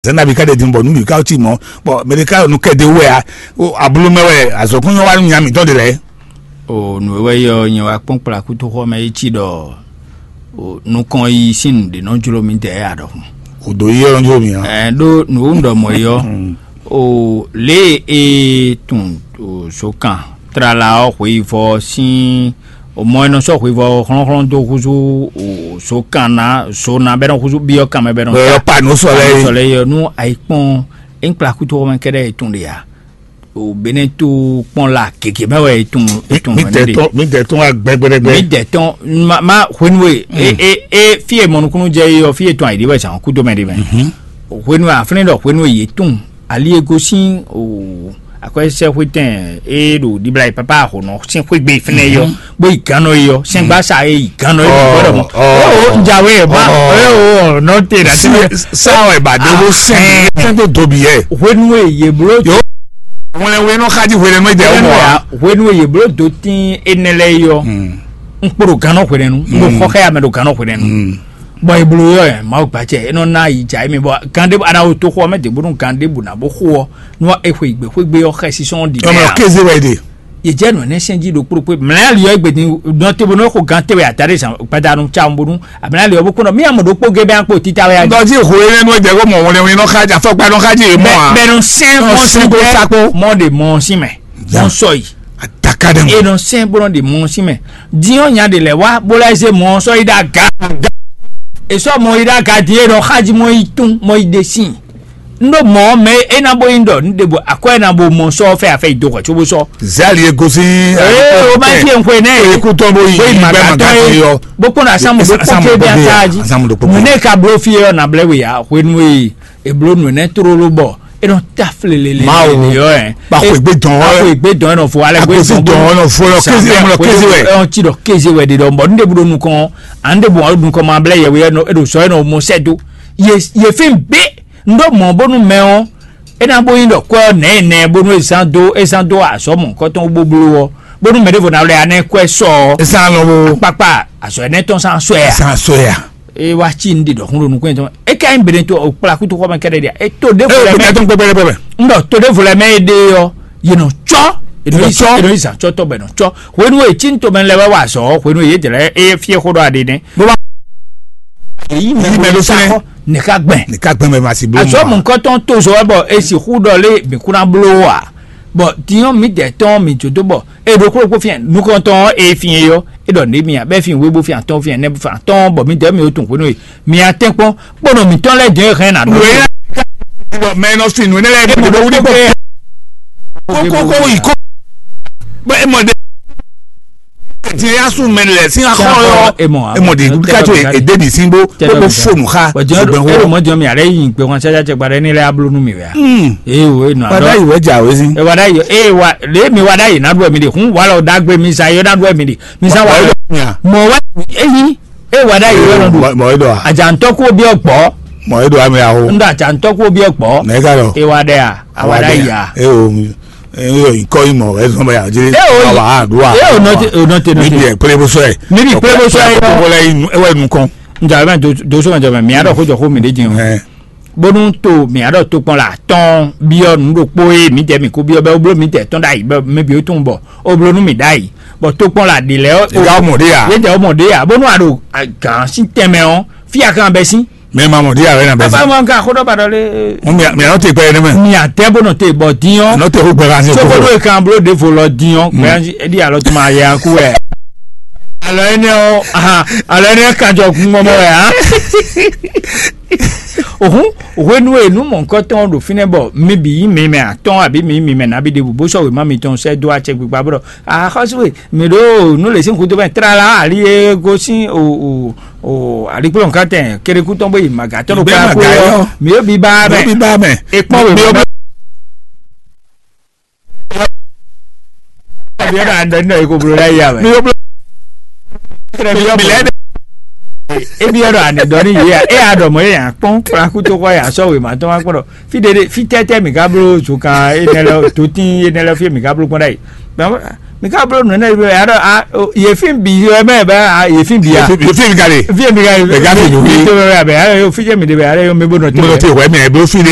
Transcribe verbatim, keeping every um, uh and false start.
Zɛnɛ bi ka ɖe din bɔ nu bi ka ti mɔ bɔ mɛ ɖe ka nu kɛ de wɛ a. O ablu mɛ wɛ azɔkun yɔ wa nu nya mitɔn de lɛ. O nǔ e wɛ yɔ nyɛ wá kpɔ́n kplá kútóxɔ mɛ yi ci ɖɔ o nukɔn yi sín nǔ ɖé nɔ jló mì tɛ ya ɖɔhun. O do yi yɔ jló mì a. Ɛ ɖó nǔ e un ɖɔ mɔ yi ɔ o lě e tun o so kan tlala ɔ xweyivɔ sín o mɔ e nɔ sɔ́ xweyivɔ hlɔ́nhlɔ́n dó húzú o so kan ná so ná bɛ nɔ húzú byɔ́ kan mɛ bɛ nɔ Bɛ yɔ pa nǔ sɔ lɛ yi. Sɔ lɛ yi ɔ nú ayi kpɔn e kplá kútóxɔ mɛ kɛɖɛ e tun ɖe ya. O bene to kpɔn la gěgé mɛ wɛ e tun e tun mi mɛ dɛ ne de. Tɔn mi dɛ tɔn wa gbɛgbɛgbɛ. Mi dɛ tɔn ma ma hwenu e e e e fi e mɔnukunu jɛ yi ɔ fi e tɔn ayi de wɛ zan kudo mɛ de mɛ. Hwenu e aflɛn dɔ hwenu e ye tun ali e gosin o akɔsɛ hwetɛn e ɖo dibla yi papa ahonɔ sin xwegbe fɛnɛ yɔ bó yi gannɔ yi yɔ sɛngba sa e yi gannɔ yi bó dɔ mɔ. Ɔ ɔ Jawe ma ɔ nɔ te na. Sáwẹ̀ bàdé bó sẹ́yìn sẹ́yìn tó tóbi yẹ. Hwenu e ye blo Yòó wlɛnwé nɔ xájí hwelɛnú jɛ ó mɔ wa. Hwenu e ye blo do tin enɛ lɛ yi ɔ n kpo ɖo gannɔ hwelɛnu n ɖo xɔ xɛ ya mɛ ɖo gannɔ hwelɛnu bɔn e blo yɔ yɛ mawu gbatsɛ e nɔ na yi dza emi bɔ gan ɖe ana wo to xɔ mɛ de bonu gan ɖe bu na bo xo ɔ nua e xwe gbe xwegbe ɔ xɛ sisɔn di Ɔmɔ mɛ kéze wɛ de. Ye jɛ nɔ ne sɛn ji ɖo kplokplo mlɛ ali yɔ egbe din nɔ te bonu xo gan te wɛ ata ɖe zan gbadanu tsa bonu amlɛ ali yɔ bo kɔnɔ mi amɔ ɖo kpo ge bɛ akpo tita wɛ adi. Dɔji ho ye nɔ jɛ ko mɔ wɛn wɛn nɔ xa ja fɔkpa nɔ xa ji ye mɔ a. Bɛnu sɛn mɔ si bɛ mɔ de mɔ si mɛ mɔ sɔ yi. Ataka dɛ mɔ. Enɔ sɛn bɔ nɔ de mɔ si mɛ diɔ nya de lɛ wa bo lɛ ze mɔ sɔ yi da ga. Esɔ mɔ yi da ga di enɔ xa ji mɔ yi tun mɔ yi de si. N ɖo mɔ mɛ e ná bo nyi ɖɔ n ɖe bo akwɛ ná bo mɔ sɔ fɛ afɛ yi do hwɛ tso bo sɔ. Zali e gosi. Ee o ma fi n xwe nɛ. Ekutɔ bo yi bo yi ma gbɛ ma gatɔ gati ye yɔ. Bo kpɔn na samu do kpɔn ke bi ata ji. Samu do kpɔn ke. Mun ne ka blo fi yɔ na blɛ we ya hwenu e eblo nu ne trolo bɔ e nɔ ta flelele. Mawu yɔ ɛ. Ba xwe gbe dɔn wɛ. Ba xwe gbe dɔn nɔ fo ale gbe dɔn nɔ fo lɔ kezi mɔ lɔ kezi wɛ. Ɛ ti dɔ kezi wɛ de dɔn bɔ n ɖe bu do nukɔn an ɖe bu nukɔn ma blɛ yɛ we yɛ nɔ e ɖo sɔ yɛ nɔ mɔ sɛ do. Ye ye fi n be n ɖo mɔ bónú mɛ ɔ e ná bó nyi ɖɔ kwɛ ɔ nɛ nɛ bónú e zán dó e zán dó azɔ̌ mɔ̌hunkɔtɔn bóbló ɔ bónú mɛ ɖěvo ná lɛ anɛ kwɛ sɔ ɔ Esa lɔ bo. Kpakpa azɔ̌ ɛnɛ tɔn sán sɔɛ a Esa sɔɛ a. E wá cí ní ɖi ɖɔkún ɖo nukún yẹn tɔn e ká nyí bene tó o kpla kútu xɔ mɛ kɛɖɛ ɖia e tó ɖěvo Ee lɛ bene mɛ tó pɛpɛpɛ. N ɖɔ tó ɖěvo lɛ mɛ e ɖe ɔ yě nɔ tsɔ yě nɔ Yě nɔ tsɔ. Yě nɔ yi zan tsɔ tɔ bɛ nɔ tsɔ hwenu e cí ní tomɛ lɛ wɛ wá azɔ̌ hwenu e yě jɛ lɛ e fiɛ xó ɖɔ aɖe nɛ. Bó bá Èyí mɛ Èyí mɛ ló ló sá sɛnɛ. Xɔ nìka gbɛn. Nìka gbɛn mɛ ma si bló Azɔ mɔ. Mɔnkɔtɔn tó zɔ wɛ bɔ e sixú ɖɔ lé mǐ kún ná bló wò a? Bɔ dinyɔn mǐ dɛ tɔn mǐ jó dó bɔ e ɖo kplɔ́kpó fia nukɔntɔn ɔ́ e fin e yɔ e ɖɔ nɖě mì a bɛ fin wé bó fin atɔn fin ɛnɛ bó fin atɔn bɔ mǐ dɛ mǐ ó tun hwenu e mǐ a tɛn kpɔn kpɔnɔ mǐtɔn lɛ́ɛ dɛn hɛn na ɖo. Wěyá bɔ mɛ nɔ sin nǔ énɛ́ lɛ́ɛ bɔ wuli kó kókó yi kó bɔ e mɔ ɖe tiɛ ya sun mɛ lɛ sin axɔ yɔ E mɔ a? E mɔ ɖe wuli ká tó e débi sin bó bó bó fonu xa Bɔn jɔn ṣùgbọ́n e wɔ. Mɔ jɔn mi ale yi gbɛ wọn sɛsɛ cɛ gbadɛ ni lɛ ablo nu mi wɛ. Hmm. Ee o e nɔ Wada yi wɛ dza wɛ sin. E wada yi e wa le mi wada yi na ɖu mi de hun wala o dagbe mi sa yɔ na ɖu mi de mi sa wa. Mɔ wa eyi e wada yi wɛ nɔ ɖu. Mɔ edo a. Adzantɔ ko bi ɔgbɔ. Mɔ edo ami awo. N da adzantɔ ko bi ɔgbɔ. Nɛ ka lɔ. E wada ya awada ya. E o mi. E o ikɔ imɔ e zɔn bɛ ya jiri. E o yi. Awa aduwa. E o nɔte o nɔte nɔte. Mibi ekpele bosɔ ye. Mibi ekpele bosɔ ye. Kɔkɔ lɛ yi nu ewa nu kɔn. N jɔ abɛ doso ma jɔ mɛ mi adɔ ko jɔ ko mi de jin o. Ɛ. Bónú to mǐ aɖɔ tokpɔn la atɔ́ɔ́n byɔ́ nǔ ɖokpó e mǐdɛɛ mǐ kó byɔ́ bɔ é bló mǐdɛɛ tɔn ɖ'ayǐ bɔ mɛ bǐ ó tunwun bɔ ó bló nú mǐ ɖ'ayǐ. Bɔ tokpɔn la ɖě lɛ́ɛ Ega ó mɔ ɖé ya. Yédɛɛ ó mɔ ɖě ya bónú a ɖo gǎn sín tɛnmɛ ɔ́, fí a kan bɛ́ sín. Mɛ ma mɔ ɖé ya wɛ na bɛ́ sín. Afa ŋɔ ka xó ɖɔ ba ɖɔ lé. Mɛ mɛ nɔ te gbɛ yɛ ne mɛ. Mǐ atɛ bó nɔ te bɔ dín ɔ́. Nɔ te xó gbɛ kan sí Sókóɖó kókó. E kan bló ɖěvo lɔ dín ɔ́, gbɛ ɛɖí alɔ tó ma yɛ akú wɛ. Alɔ énɛ́ ɔ́, ahan, alɔ énɛ́ ɔ́ kan jɔ gun mɔmɔ wɛ hã. Òhun hwenu e nǔ mɔ̌hunkɔtɔn ɖo fínɛ́ bɔ mi bǐ nyí mi mɛ atɔ́ɔ́n abǐ mi nyí mi mɛ nabí ɖěbǔ bó sɔ́ wěma mitɔn sɛ́ dó acɛ gbigba bó ɖɔ axɔ́sú e mǐ ɖo nǔ lě sín gúdo mɛ tlala ali e gosín o o o alikplɔ́nkatɛn kéɖékú tɔn bó yi màgǎtɔ́ ɖo Bɛ́ kpákpó màgǎ ɔ́ yɔ. Mi yóò bí bá Mi mɛ yóò bí bá mɛ. E kpɔ́n wěma Mi yóò bí mɛ. Ebi ɔdɔ andɔ nínú eko blo la yà wɛ. Mi yóò bí. Ebi ɔdɔ andɔ ní yé ya e adɔ mɔ e yà kpɔn kplaku tó kɔ yà sɔ wèmá tɔn wá kpɔdɔ fi ɖeɖe fi tɛtɛ mi ka blo zuka enɛ lɛ totin enɛ lɛ fi mi ka blo kpɔn ɖa yi. Mi ka bló nǔ énɛ́ bɛ aɖɔ a yefin bi yɔ mɛ bɛ a yefin bi a. Yefin yefin ka le. Fi mi ka Ɛ, gafi nǔ mi wi. To bɛ bɛ a yɔ fi jɛ mi de bɛ a yɔ mi bo nɔ Mo lọ to. te wɛ mɛ bó fi le